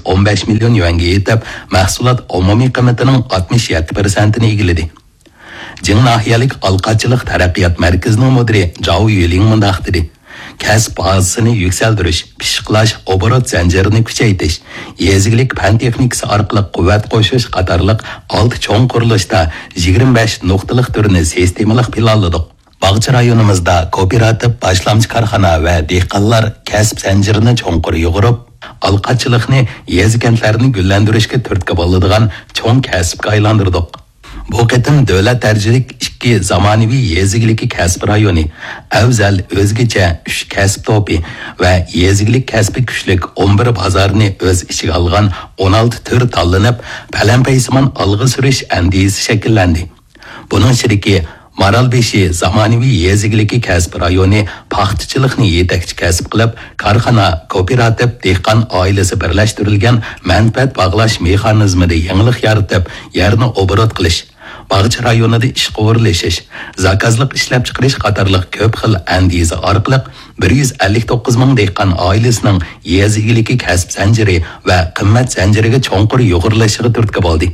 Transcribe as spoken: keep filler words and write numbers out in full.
ئون بەش مىليون يۈەنگە يېتىپ، مەھسۇلات ئومۇمىي قىممىتىنىڭ ئاتمىش يەتتە پىرسەنتىنى ئىگىلىدى. جىڭ ناھىيەلىك ئالقاچىلىق تەرەققىيات مەركىزىنىڭ مۇدىرى جاۋ يۈلىڭ مۇنداق دېدى: كەسىپ بازىسىنى يۈكسەلدۈرۈش، پىششىقلاش، ئوبوروت زەنجىرىنى كۈچەيتىش، يېزا ئىگىلىك پەن تېخنىكىسى ئارقىلىق قۇۋۋەت قوشۇش قاتارلىق ئالتە چوڭ قۇرۇلۇشتا يىگىرمە بەش نۇقتىلىق تۈرنى سىستېمىلىق پىلانلىدۇق. باغچە رايونىمىزدا كوپىراتىپ، باشلامچى كارخانا ۋە دېھقانلار كەسىپ زەنجىرىنى چوڭقۇر يۇغۇرۇپ، ئالقاچىلىقنى يېزا-كەنتلەرنى گۈللەندۈرۈشكە تۈرتكە بولىدىغان چوڭ كەسىپكە ئايلاندۇردۇق. بۇ قېتىم دۆلەت دەرىجىلىك ئىككى زامانىۋى يېزا ئىگىلىكى كەسپى رايونى، ئەۋزەل، ئۆزگىچە، ئۈچ كەسىپ توپى ۋە يېزا ئىگىلىك كەسپى كۈچلۈك ئون بىر بازارنى ئۆز ئىچىگە ئالغان ئون ئالتە تۈر تاللىنىپ، پەلەمپەيسىمان ئالغا سۈرۈش ئەندىزىسى شەكىللەندى. بۇنىڭ ئىچىدىكى مارالبېشى زامانىۋى يېزا ئىگىلىكى كەسپى رايونى پاختىچىلىقنى يېتەكچى كەسىپ قىلىپ، كارخانا، كوپىراتىپ، دېھقان ئائىلىسى بىرلەشتۈرۈلگەن مەنپەئەت باغلاش مېخانىزمىدا يېڭىلىق يارىتىپ، يەرنى ئوبوروت قىلىش، باغچە رايونىدا ئىشقا ئورۇنلىشىش، زاكازلىق ئىشلەپچىقىرىش قاتارلىق كۆپ خىل ئەندىزە ئارقىلىق بىر يۈز ئەللىك توققۇز مىڭ دېھقان ئائىلىسىنىڭ يېزا ئىگىلىكى كەسىپ زەنجىرى ۋە قىممەت زەنجىرىگە چوڭقۇر يۇغۇرۇلۇشىغا تۈرتكە بولدى.